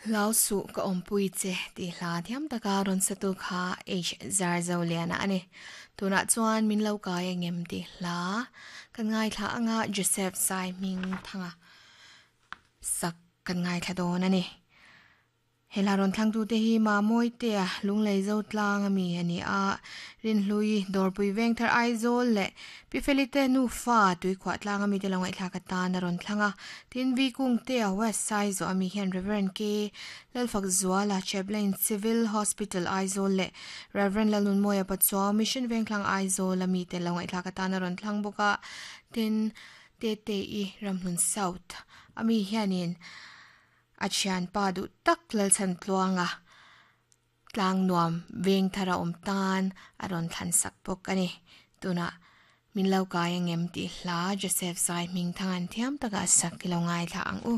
Hlau suh ka awmpui che tih hla thiam taka rawn satu kha H Zarzoliana a ni. Tunah chuan min lo kai a ngem tih hla kan ngaithla anga Joseph Sai hming thanga sak kan ngaithla dawn a ni. He hla rawn thlangtute hi Mamawite-a Lunglei Zotlang a mi a ni a, Rinhlui, Dawrpui Vengthar Aizawl leh Pi Felite nufa Tuikhuah tlang a mite lo ngaihthlak atan a rawn thlang a. Tin, Vi Kungte-a West Saizawh a mi hian Rev. K. Lalfakzuala, Chaplain, Civil Hospital Aizawl leh Rev. Lalnunmawia Pachuau, Mission Vengthlang Aizawl a mite lo ngaihthlak atan a rawn thlang bawk a. Tin, Tete-i Ramhlun South a mi hianin A thianpa duh tak Lalchhantluanga tlang nuam veng thar a awm tan a rawn thlan sak bawk a ni. Tunah min lo kai angem tih hla Joseph Zai hming thang an thiam takah sak i lo ngaithla ang u.